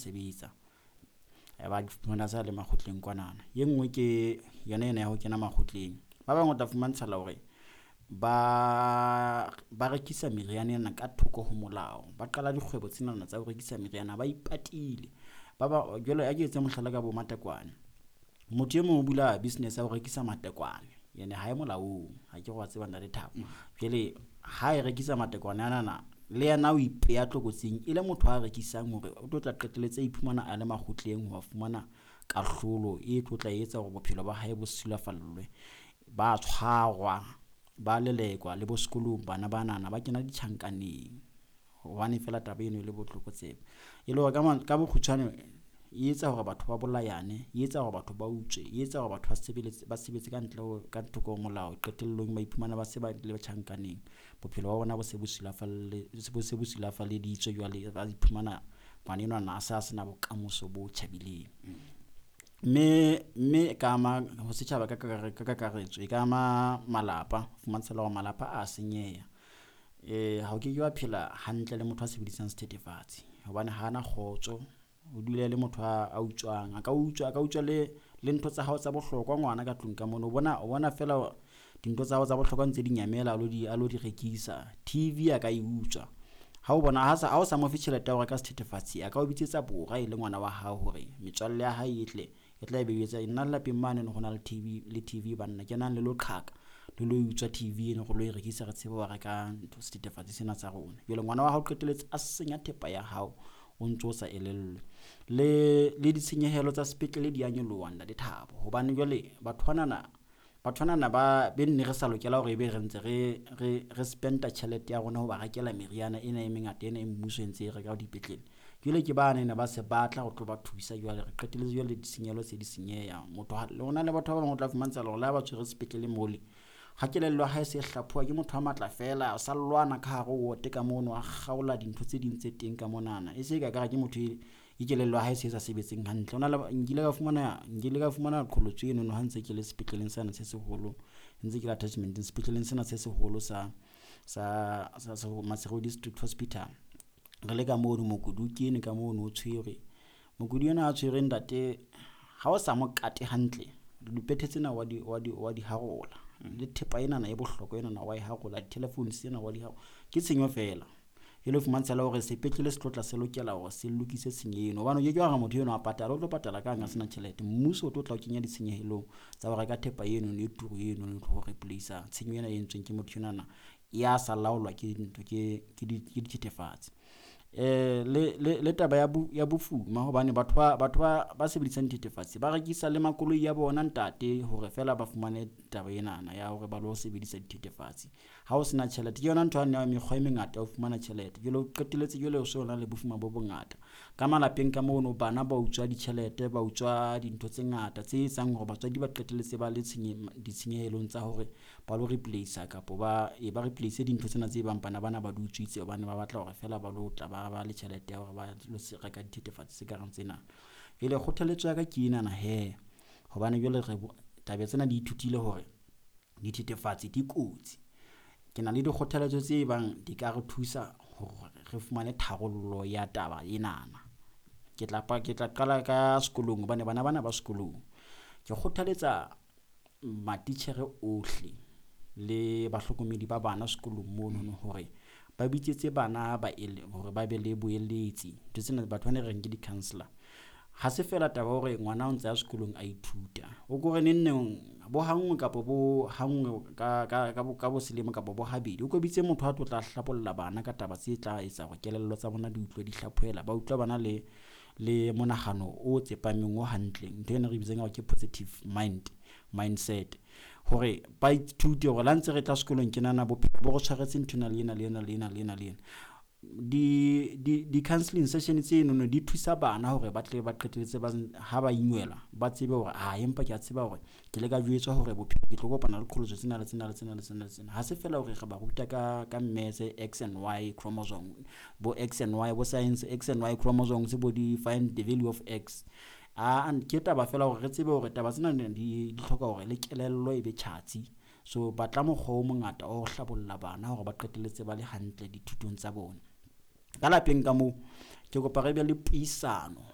sebetsa. Ba fumana sa le makgotleng kwanana. E nngwe ke yona ena ya ho kena makgotleng. Ba bang o tla fumantshala hore ba rekisa meriana ena ka thoko ho molao. Ba qala dikgwebo tsenana tsa ho rekisa meriana ba ipatile. Ba ba jwale a ke etse mohlala ka bo matekwane. Motho e mong o bula business ya ho rekisa matekwane ene ha e molaong, ha ke re wa tseba Ntate Thabo. Jwale ha e rekisa matekwane anana le yena o ipeha tlokotsing e le motho a rekisang hore o tlo tla qetelletse a iphumana a le makgotleng ho fumana kahlolo e tlo tla etsa hore bophelo ba hae bo sulafallwe. Ba tshwarwa, ba lelekwa le bo sekolong bana banana ba kena ditjhankaneng hobane fela taba eno e le botlokotsebe. E le hore ka bokgutshwane e etsa hore batho ba bolayane, e etsa hore batho ba utswe, e etsa hore batho ba sebeletse ba sebetse ka ntle ho ka thoko ho molao. Qetellong ba iphumana ba se ba le tjhankaneng. Bophelo ba bona bo se bo sulafalle bo se bo sulafalleditswe jwale ba iphumana ngwana enwana a sa sena bokamoso bo tjhabileng. Mme e ka ama ho setjhaba ka ka kakaretso, e ka ama malapa. Fumantshala hore malapa a senyeha. Ha o ke ke wa phela hantle le motho a sebedisang sethethefatsi hobane hana kgotso, o dula le motho a utswang. A ka utswa, a ka utswa le le ntho tsa hao tsa bohlokwa ngwana ka tlung ka mono. O bona o bona feela dintho tsa hao tsa bohlokwa ntse di nyamela a lo di a lo di rekisa. TV a ka e utswa. Ha o bona ha sa ha o sa mo fe tjhelete ya ho reka sethethefatsi, a ka o bitsetsa bora e le ngwana wa hao hore metswalle ya hae e tle e tla be e etsa nna lapeng mane ho na le TV le TV banna kenang le lo qhaka le lo utswa TV eno re lo e rekisa re tsebe ho reka ntho sethethefatsi sena sa rona. Jwale ngwana wa hao qetelletse a senya thepa ya hao o ntso sa elellwe. Le ditshenyehelo tsa sepetlele di a nyoloha Ntate Thabo, hobane jwale batho banana batho banana ba be nne re sa lokela hore ebe re ntse re re re spend-a tjhelete ya rona ho ba rekela meriana ena e mengata ena e mmuso e ntse e reka dipetlele. Jwale ke bana ena ba se batla ho tlo ba thusa jwale re qetelletse jwale ditshenyehelo se di senyeha. Motho ha hona le batho ba bang o tla fumantsha hore le ha ba tshwere sepetlele mole ha kelello ya hae se hlaphoha ke motho a matla fela, o sa lwana ka hare ho wote ka mono, a kgaola dintho tse ding tse teng ka monana. E se ka kare ke motho e kelello ya hae se sa sebetseng hantle. Hona le nkile ka fumana nkile ka fumana qholotso eno ha ntse ke le sepetleleng sena se seholo, ntse ke le attachment-eng sepetleleng sena se seholo sa sa sa Maseru District Hospital. Re le ka mono mokudi o kene ka mono o tshwerwe. Mokudi ena a tshwerwe ntate ha o sa mo kate hantle, dipethe tsena wa di wa di wa di harola. Le thepa enana e bohlokwa enana wa e harola, di-telephone tsena wa di harola. Ke tshenyo fela. E le fumantsha hore sepetlele se tlo tla se lokela hore se lokise tshenyo eno hobane o ke ke wa re motho eno a patala, o tlo patala kang a sena tjhelete. Mmuso o tlo tla o kenya ditshenyehelong tsa ho reka thepa eno e turu eno ho replace-a tshenyo ena e entsweng ke motho enwana ya sa laolwa ke ntho ke ke dithethefatsi. Le taba ya ya bofuma hobane batho ba batho ba ba sebedisang dithethefatsi ba rekisa le makoloi a bona ntate hore fela ba fumane taba enana ya hore ba lo sebedisa dithethefatsi. Ha o sena tjhelete ke yona ntho yane ya mekgwa e mengata ya ho fumana tjhelete. Jwale o qetelletse jwale o so na le bofuma bo bongata. Ka malapeng ka mono bana ba utswa ditjhelete, ba utswa dintho tse ngata tse etsang hore batswadi ba qetelletse ba le ditshenyehelong tsa hore ba lo replace-a kapo ba e ba replace dintho tsena tse bang bana bana ba di utswitse hobane ba batla hore fela ba lo tla ba ba le tjhelete ya hore ba lo reka dithethefatsi tse kareng tsena. Jwale kgothaletso ya ka ke enana hee, hobane jwale re taba tsena di ithutile hore dithethefatsi di kotsi. Ke na le dikgothaletso tse bang di ka re thusa hore re fumane tharollo ya taba enana. Ke tla ke tla qala ka sekolong hobane bana bana ba sekolong. Ke kgothaletsa matitjhere ohle le bahlokomedi ba bana sekolong monono hore ba bitsetse bana ba hore ba be le boeletsi. Ntho tsena batho bana re reng ke di-counsellor. Ha se fela taba ya hore ngwana o ntse a sekolong a ithuta, o ko re neng neng bo hanngwe kapo bo hanngwe ka ka ka bo selemo kapo bo habedi, o ko bitse motho a tlo tla hlabolla bana ka taba tse tla etsa hore kelello tsa bona di utlwe di hlaphohela. Ba utlwa bana le le monahano o tsepameng o hantle. Ntho ena re bitsang hore ke positive mind mindset. Hore ba ithute hore le ha ntse re tla sekolong tjenana bophelo bo re tshwaretse nthwena le ena le ena le ena le ena le ena. Di di-counselling session tsenono di thusa bana hore ba tle ba qetelletse ba ha ba inwella ba tsebe hore ah empa ke a tseba hore ke ile ka jwetswa hore bophelo ke tlo kopana le qholotso tsena le tsena le tsena le tsena le tsena. Ha se fela hore re ba ruta ka ka maths X and Y chromosome, bo X and Y bo science X and Y chromosomes bo di find the value of X. Ah ke taba fela hore re tsebe hore taba tsena di di hloka hore le kelello e be tjhatsi. So batla mokgwa o mongata wa ho hlabolla bana hore ba qetelletse ba le hantle dithutong tsa bona. Ka lapeng ka moo ke kopa re be le puisano.